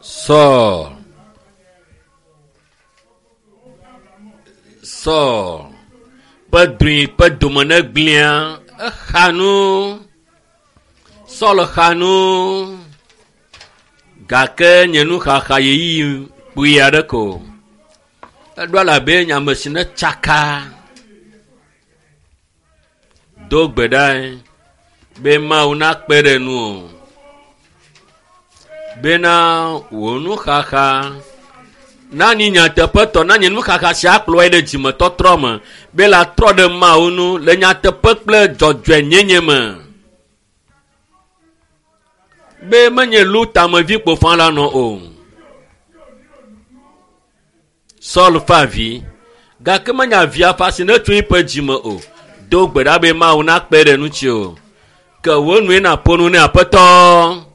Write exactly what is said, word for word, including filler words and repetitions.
Saul Saul ƒe drɔ̃e ƒe dome ne gblẽa, exa nu. Saul xa nu gake nye nuxaxa ɣeyiɣi kpui aɖe ko. Eɖo abe nye ame si ne tsaka. Do gbe ɖae be Mawu nakpe ɖe nuwò bena wò nuxaxa nanyi nyateƒetɔ, nanye nuxaxa si akplɔe ɖe dzimetɔtrɔ me be la trɔ ɖe Mawu ŋu le nyateƒe kple dzɔdzɔenyenye me. Be menye Lutamevi kpofã la nɔ o. Saul ƒe avi gake menye avia ƒe asi netso eƒe dzime o. Do gbe ɖa be Mawu nakpe ɖe ŋuti o. Ke wò nue nàƒo nu ne Aƒetɔ.